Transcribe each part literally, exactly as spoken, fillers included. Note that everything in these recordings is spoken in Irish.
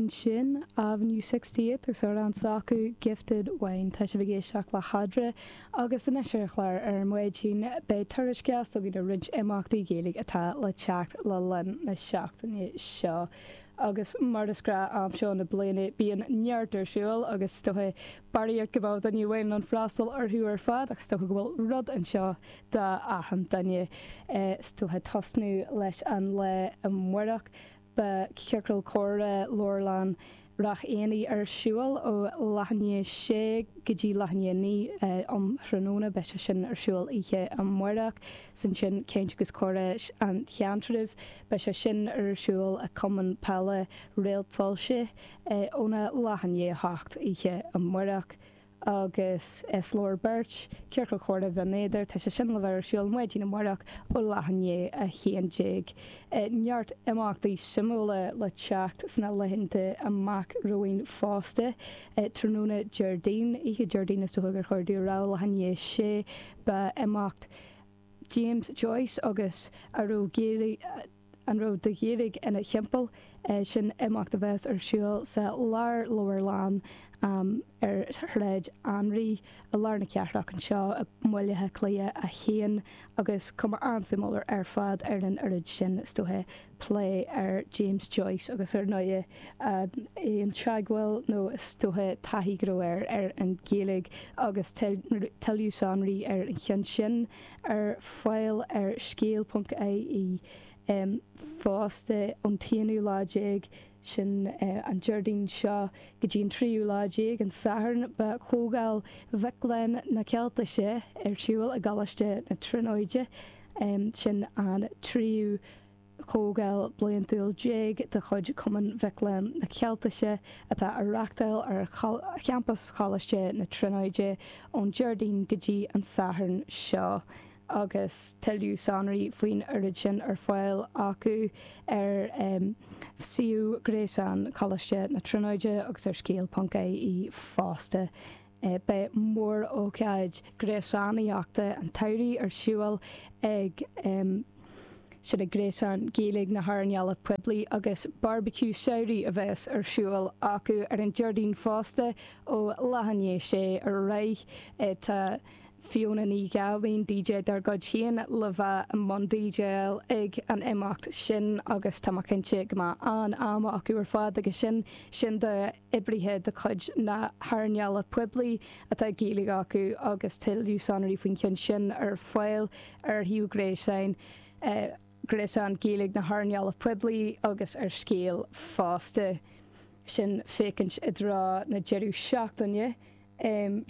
Ansin Avenue Sixty Eight agus amhrán s'acu Gifted Wine. Tá sibh ag éisteacht le hEadra agus anois ar an chlár ar maidin beidh tuairisc againn ar roinnt imeachtaí Gaeilge atá le teacht le linn na seachtaine seo. Agus mar is gnách am seo na bliana bíonn neart ar siúl agus is dócha barraíocht go mbeadh duine amháin in ann freastal orthu ar fad ach is dócha go bhfuil rud anseo do achan duine. Is dócha tosnú leis an lá amárach. Beidh Ciorcal Comhrá Leabharlann Ráth Éanaigh ar siúl ó leath i ndiaidh a sé go dtí leath i ndiaidh a naoi um thráthnóna. Beidh sé sin ar siúl oíche amárach. 'S ansin Caint agus Comhrá an Cheantraibh. Beidh sé sin ar siúl i Cumann Peile Réalt Soilse óna leath i ndiaidh a hocht oíche amárach. Agus is leor beirt, Ciorcal Comhrá Bhinn Éadair, tá sé sin le bheith ar siúl maidin amárach ó leath i ndiaidh a haon déag. Neart imeachtaí suimiúla le teacht sna laethanta amach romhainn fosta. Tráthnóna Déardaoin, oíche Déardaoin is dócha gur chóir domh a rá, leath i ndiaidh a sé, beidh imeacht James Joyce agus a raibh Gaeilge, an raibh de Ghaeilge ina thimpeall. Sin imeacht a bheas ar siúl sa Lárleabharlann ar Shráid Anraí i lár na cathrach anseo i mBaile Átha Cliath a haon agus cuma an-suimiúil ar fad ar an oiread sin is dócha plé ar James Joyce agus ar ndóigh an teagmháil nó is dócha taithí go raibh air ar an Ghaeilge agus tuilleadh sonraí ar an cheann sin ar fáil ar scéal ponc ie. Fosta ón t-aonú lá déag, sin an Déardaoin seo, go dtí an tríú lá déag, an Satharn, beidh Comhdháil Mhic Léinn na Ceiltise ar siúl i gColáiste na Tríonóide. Sin an tríú comhdháil bliantúil déag de chuid Chumann Mhic Léinn na Ceiltise atá á reáchtáil ar champas Choláiste na Tríonóide ón Déardaoin go dtí an Satharn seo. agus tuilleadh sonraí faoin oiread sin ar fáil acu ar suíomh gréasáin Choláiste na Tríonóide agus ar scéal ponc ie fosta. Beidh mór-ócáid gréasánaíochta an tsamhraidh ar siúl ag sin ag Gréasán Gaeilge na hEarnála Poiblí agus Barbecue Samhraidh a bheas ar siúl acu ar an Déardaoin fosta ó leath i ndiaidh a sé ar aghaidh. Tá. Fiona Ní Ghabhain, DJ dár gcuid féin, le bheith i mbun DJáil ag an imeacht sin agus tá mé cinnte go mbeidh an-am acu ar fad agus sin sin d'oibrithe de chuid na hearnála poiblí atá Gaeilge acu agus tuilleadh sonraí faoin cheann sin ar fáil ar shuíomh gréasáin Gréasán Gaeilge na hEarnála Poiblí agus ar Scéal fosta. Sin féachaint i dtreo na deireadh seachtaine.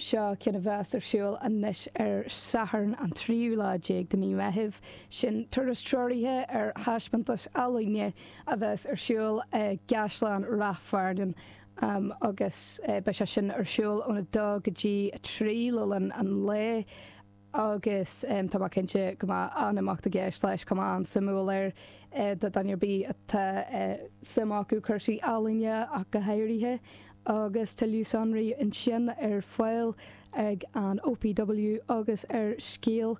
Seo ceann a bheas ar siúl anois ar Satharn an tríú lá déag de mí Meithimh. Sin turas treoraithe ar thaispeántas ealaíne a bheas ar siúl i gCaisleán Ráth Fearnáin agus beidh sé sin ar siúl óna dó go dtí a trí le linn an lae. Agus tá mé cinnte go mbeidh an-imeacht i gceist leis, cuma an-suimiúil air do dhuine ar bith atá suim acu cúrsaí ealaíne ach go háirithe. Agus tuilleadh sonraí ansin ar fáil ag an OPW agus ar Scéal.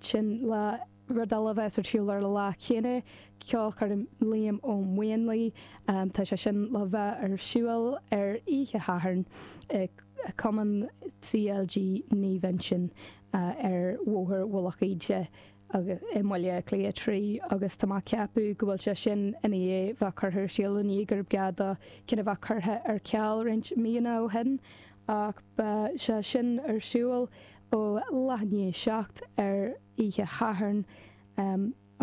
Sin lá. Rud eile a bheas ar siúl ar an lá céanna, ceolchoirm Liam Ó Maonlaí. Tá sé sin le bheith ar siúl ar oíche Shathairn i Cumann CLG Naomh Uinseann ar Bhóthar Mhullach Íde i mBaile Átha Cliath trí agus tá mé ag ceapadh go bhfuil sé sin i ndiaidh bheith curtha ar siúl i ndiaidh gurb gá do ceann a bheith curtha ar ceal roinnt míonna ó shin ach beidh sé sin ar siúl ó leath i ndiaidh a seacht ar oíche Shathairn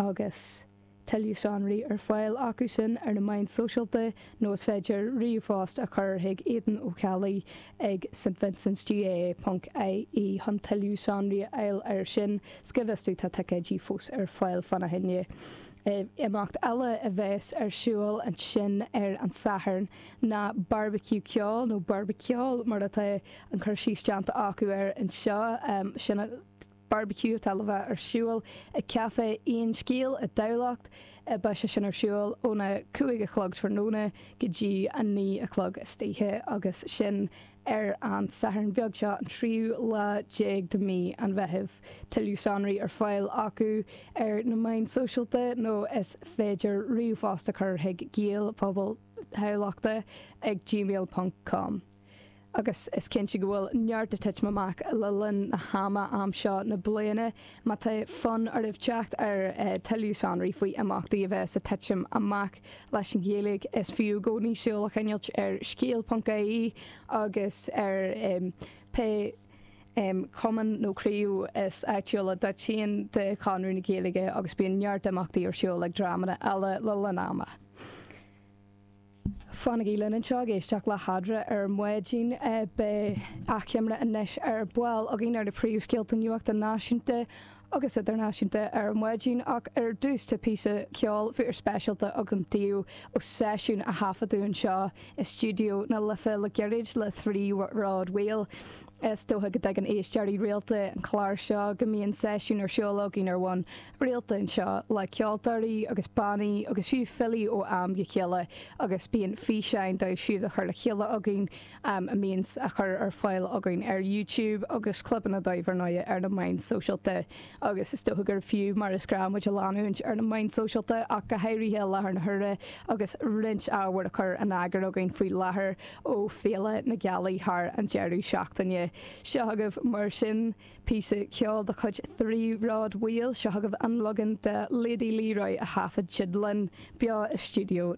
agus tuilleadh sonraí ar fáil acu sin ar na meáin sóisialta nó is féidir ríomhphost a chur chuig Aidan Ó Ceallaigh ag stvincentsgaa ponc ie chun tuilleadh sonraí a fháil air sin. 'S go bhfios domh tá ticéidí fós ar fáil fána choinne. Imeacht eile a bheas ar siúl ansin ar an Satharn ná Barbecue Ceoil nó Barbaceol mar atá an cur síos déanta acu air anseo. Sin barbecue atá le bheith ar siúl ag Café Aon Scéal i dTamhlacht. Beidh sé sin ar siúl óna cúig a chlog tráthnóna go dtí a naoi a chlog istoíche agus sin ar an Satharn beag seo, an tríú lá déag de mhí an Mheithimh. Tuilleadh sonraí ar fáil acu ar na meáin sóisialta nó is féidir ríomhphost a chur chuig gaelphobal Thamhlachta ag gmail ponc com. Agus is cinnte go bhfuil neart ag titim amach le linn na hama am seo na bliana. Má tá fonn oraibh teacht ar tuilleadh sonraí faoi imeachtaí a bheas ag titim amach leis an Ghaeilge, is fiú i gcónaí súil a choinneáilt ar scéal ponc ie agus ar pé cumann nó craobh is áitiúla duit féin de Chonradh na Gaeilge agus bíonn neart imeachtaí ar siúl ag dreamanna eile le linn ama. Fanaigí linn anseo ag éisteacht le hEadra ar maidin. Beidh achoimre anois ar ball againn ar na príomhscéalta nuachta náisiúnta agus idirnáisiúnta ar maidin ach ar dtús tá píosa ceoil fíorspeisialta agam daoibh ó seisiún a thaifeadadh anseo i stiúideo na Life le gairid le Three Rod Wheel. Is dócha go dtuigeann éisteoirí rialta an chláir seo go mbíonn seisiún ar siúl againn ar bhonn rialta anseo le ceoltóirí agus bannaí agus fiú filí ó am go chéile agus bíonn físeáin dóibh siúd a chur le chéile againn a mbíonn á chur ar fáil againn ar YouTube agus clibeanna dóibh ar ndóigh ar na meáin sóisialta agus is dócha gur fiú mar is gnách muid a leanúint ar na meáin sóisialta ach go háirithe i láthair na huaire agus roinnt ábhair a chur in eagar againn faoi láthair ó Féile na Gealaí thar an deireadh seachtaine. Seo agaibh mar sin píosa ceoil de chuid Three Rod Wheel, seo agaibh an leagan de Lady Leroy a thaifead siad linn beo i stiúideo